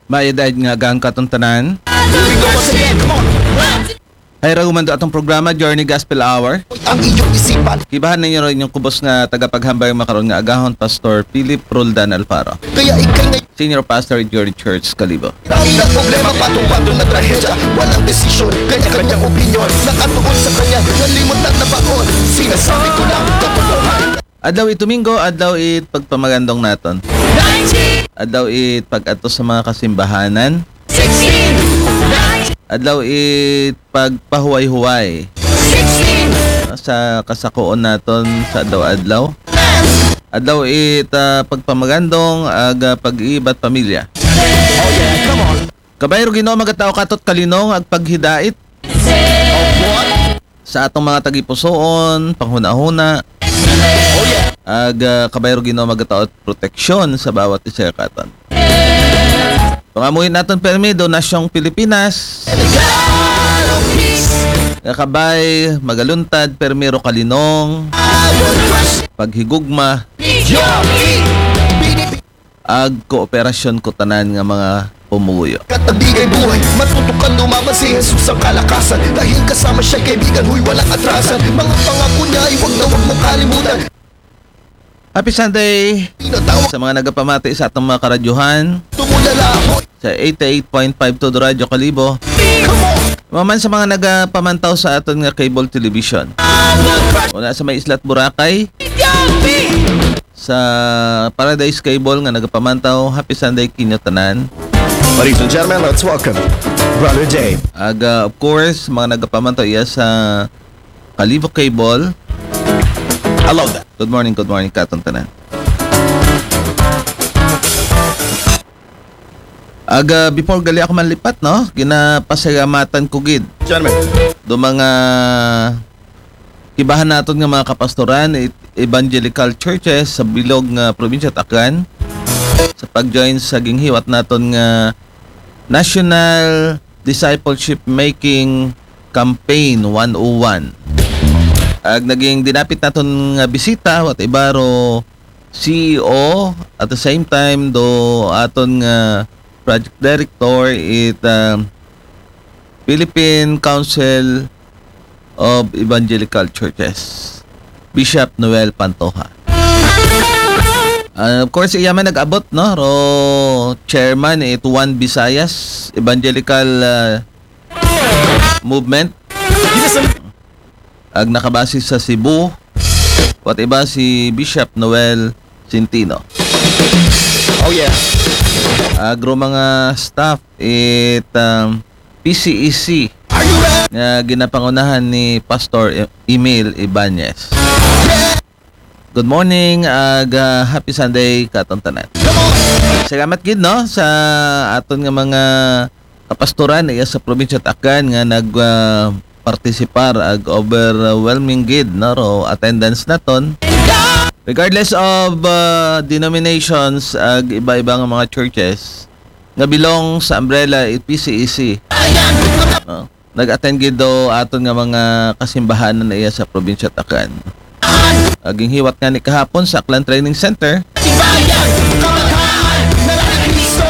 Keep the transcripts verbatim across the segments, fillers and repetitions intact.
Maayong adlaw nga agahan katon tanan. Here we go once again. Come on. Hay ra humando atong programa, Journey Gospel Hour. Ang inyong isipan. Kibahan ninyo ron inyong kubos nga tagapaghambal makaron nga agahon, Pastor Philip Roldan Alfaro. Kaya ikay na Senior Pastor, Journey Church, Kalibo. Ang problema, patong-patong na trahedya. Walang desisyon, kanya-kanyang opinyon. Nakatuon sa kanya, nalimot na nabaon. Sinasabi ko lang, katotohanan. Adlaw it Domingo, adlaw it pagpamagandong naton. Adlaw it pag-adto sa mga kasimbahanan. Adlaw it pagpahuway-huway sa kasakoon naton sa adlaw-adlaw. Adlaw it ah, pagpamagandong ag ah, pag-iibat pamilya. Kabayro Ginoo magatao katot kalinong ag paghidait sa atong mga tagipusoon, panghunahuna. Ag ah, kabayro Ginoo magatao proteksyon sa bawat isa katon. Pangamuhi naton permi do nasyong Pilipinas. Nga kabay magaluntad permi ro kalinong, paghigugma, ag kooperasyon ko tanan nga mga pumuyo. Katabigay buhay, matutukan lumaban si Jesus ang kalakasan. Dahil kasama siya kaibigan, huy, walang atrasan. Mga pangako niya ay wag na wag mong kalimutan. Happy Sunday sa mga nagapamati sa atong mga karadyohan. Sa eighty-eight point five two Radyo Kalibo. Maman sa mga nagapamantaw sa aton nga cable television. Una sa may Islat Boracay. Sa Paradise Cable nga nagapamantaw, happy Sunday kinyo tanan. Ladies and gentlemen, let's welcome Brother Dave. Aga, of course, mga nagapamantaw iya sa Kalibo Cable. I love that. Good morning, good morning, katon tanan. Aga, before gali ako manlipat, no? Ginapasalamatan ko gid. Gentlemen. Do mga kibahan naton nga mga kapastoran, it- evangelical churches sa bilog nga probinsya Aklan sa pag-join sa ginghiwat naton nga National Discipleship Making Campaign one oh one. Ag naging dinapit naton nga bisita, wat ibaro C E O, at the same time do aton nga project director it ah, Philippine Council of Evangelical Churches, Bishop Noel Pantoja. And of course, iya man nag-abot, no? Ro chairman it One Visayas Evangelical ah, Movement. Ag nakabase sa Cebu, wat iba si Bishop Noel Centino. Oh yeah. Ag ro mga staff it um, P C E C nga ginapangunahan ni Pastor E- Emil Ibanez. Good morning, ag ah, happy Sunday katon tanan. Salamat gid, no, sa aton nga mga kapastoran iya sa probinsya Aklan nga nag ah, partisipar ag overwhelming gid, no, ro attendance naton. Regardless of ah, denominations ag iba-iba nga mga churches nga belong sa umbrella it P C E C. No? Nag-attend gid do aton nga mga kasimbahanan na iya sa probinsya Aklan. Aging hiwat nga ni kahapon sa Aklan Training Center.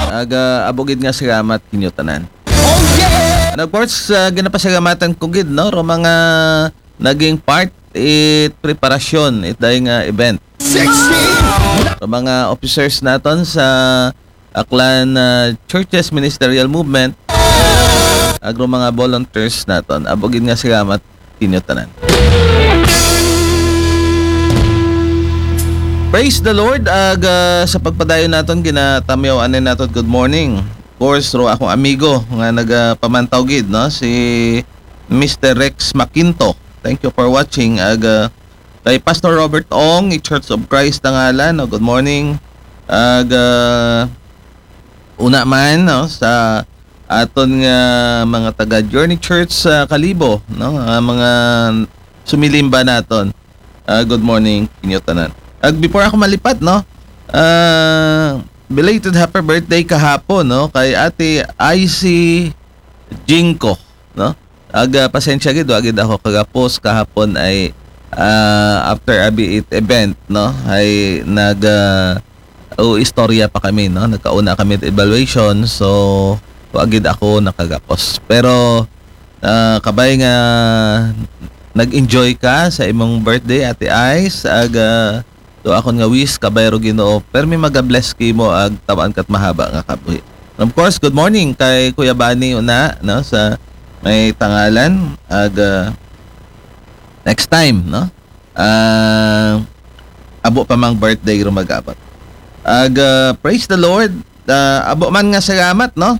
Aga abo gid nga salamat kinyo tanan. And of course, ah, ginapasalamatan ko gid, no, ro mga naging part it preparasyon it day nga event. Ro mga officers naton sa Aklan ah, Churches Ministerial Movement, ag ro mga volunteers naton. Abo gid nga salamat kinyo tanan. Praise the Lord. Ag ah, sa pagpadayon naton, ginatamyaw anay naton good morning. Of course, ro akong amigo nga nagapamantaw gid, no, si Mister Rex Makinto. Thank you for watching. Ag ah, kay Pastor Robert Ong, i Church of Christ na ngalan, no? Good morning. Ag ah, una man, no, sa aton nga mga taga Journey Church sa Kalibo, no, nga mga sumilimba naton. Ah, good morning kinyo tanan. Ag before ako malipat, no, ah, belated happy birthday kahapon, no, kay Ate Icy Jinko, no. Aga pasensya gid, wa gid ako kagapos kahapon ay ah, after abi it event, no, ay nag ah, o istorya pa kami, no? Nagkauna kami evaluation, so wa gid ako nakagapos. Pero ah, kabay nga nag-enjoy ka sa imong birthday, Ate Ice, ag ah, to akon nga wish, kabay ro Ginoo, permi maga-bless kimo ag taw-an kat mahaba nga kabuhi. And of course, good morning kay Kuya Bani una, no, sa may Tangalan, ag ah, next time, no? Ah, abo pa mang birthday ro mag-abot. Ag ah, praise the Lord. Ah, abo man nga salamat, no?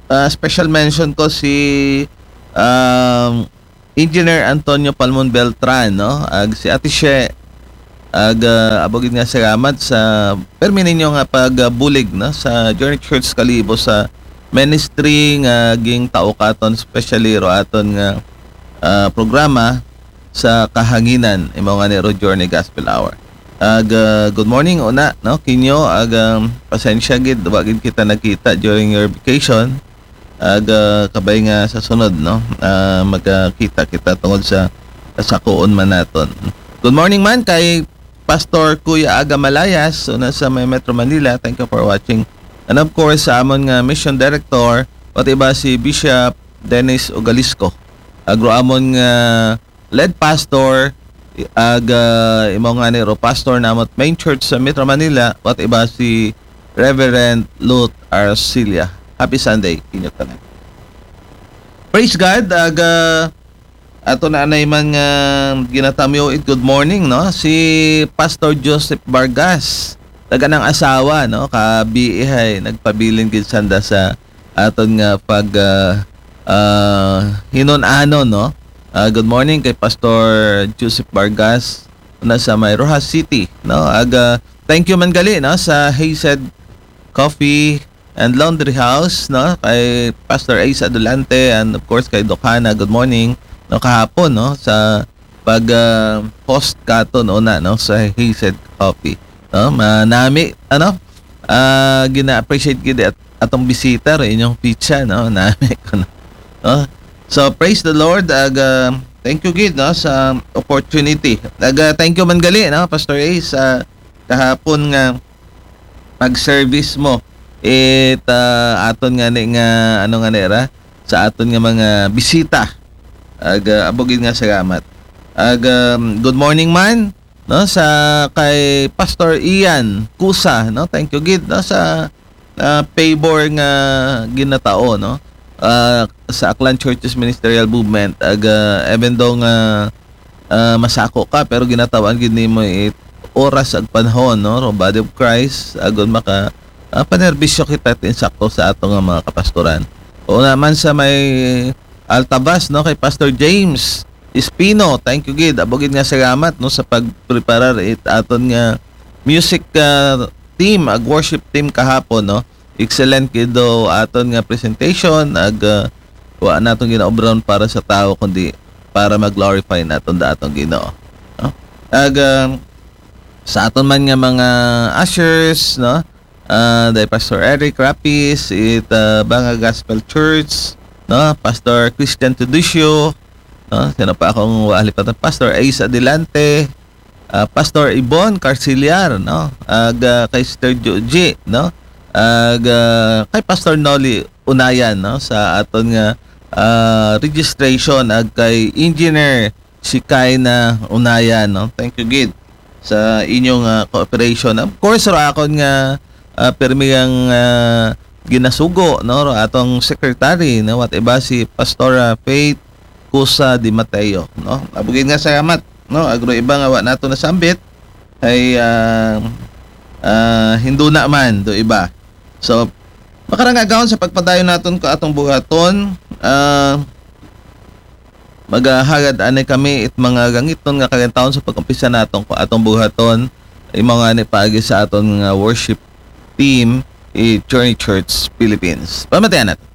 Ah, special mention ko si um, Engineer Antonio Palmon Beltran, no? Ag si Ate She, ag ah, abo gid nga salamat sa permi ninyo nga pagbulig, no, sa Journey Church Kalibo sa ministry nga gintao katon, especially ro aton nga ah, programa sa kahanginan, imo nga ni ro Journey Gospel Hour. Ag ah, good morning una, no, kinyo, ag um, pasensya gid, wa gid kita nagkita during your vacation. Ag ah, kabay nga sa sunod, no, ah, magkita kita tungod sa kasakuon man naton. Good morning man kay Pastor Kuya Aga Malayas, una sa may Metro Manila. Thank you for watching. And of course, sa amon nga mission director, pati ba si Bishop Dennis Ogalisco. Agro amon nga lead pastor, ag ah, imo nga ni ro pastor namot main church sa Metro Manila, pati ba si Reverend Lut Arcilia. Happy Sunday, kinyo tanan. Praise God, ag ah, ato na anay man nga ginatamyo it good morning, no? Si Pastor Joseph Vargas, taga ng asawa, no? Kabiihay, nagpabilin gid sanda sa aton nga pag ah, ah, hinun-anon, no? Ah, good morning kay Pastor Joseph Vargas na sa may Roxas City, no? Ag ah, thank you man gali, no, sa Hazed Coffee and Laundry House, no? Kay Pastor Ace Adulante and of course kay Doc Hana, good morning, no, kahapon, no, sa pag ah, host katon una, no, sa Hazed Coffee, no? Manami, ano? Ah, gina-appreciate gid at atong bisita ro inyong pizza, no? Nami ko, no? No? So praise the Lord. Ag ah, thank you gid, no, sa opportunity. Ag ah, thank you man gali, no, Pastor Ace, sa kahapon nga pag-service mo it ah, aton nga ni nga ano nga ni ra sa aton nga mga bisita. Ag ah, abo gid nga salamat. Ag um, good morning man, no, sa kay Pastor Ian Kusa, no? Thank you gid, no, sa ah, favor nga ginatao, no? Ah, sa Aklan Churches Ministerial Movement, ag ah, even though nga ah, masako ka, pero ginatawan gid nimo it oras ag panahon, no, ro body of Christ, agon maka ah, panerbisyo kita it insakto sa ato nga mga kapastoran. O naman sa may Altavas, no, kay Pastor James Espino, thank you gid, abo gid nga salamat, no, sa pagpreparar it aton nga music ah, team, ag worship team kahapon, no. Excellent gid do aton nga presentation, ag ah, wa naton ginaobran para sa tao kundi para mag-glorify naton da atong Ginoo, no? Ag ah, sa aton man nga mga ushers, no? Ah, day Pastor Eric Rapis, it ah, Banga Gospel Church, no? Pastor Christian Tuducio, no? Sino pa akong wali pa? Pastor Ace Adelante, ah, Pastor Ibon Carcillar, no? Ag ah, kay Sister Joji, no? Ag ah, kay Pastor Nolly Unayan, no? Sa aton nga ah, registration, ag kay Engineer Shikaina Unayan, no? Thank you gid sa inyong ah, cooperation. Of course, ro akon nga ah, permi ang ah, ginasugo, no? Ro atong secretary, no? What iba si Pastora Faith Kusa Di Mateo, no? Abo gid nga salamat, no? Agro iba nga wa nato nasambit ay ah, ah, hinduna man do iba. So, makarang agahon sa pagpadayon naton ko atong buhaton, ah, magahagad ani kami it mga gangiton nga kagantawon sa pag-umpisa naton ko atong buhaton, imo nga ni paagi sa aton nga worship team, i Journey Church Philippines. Pamatian naton.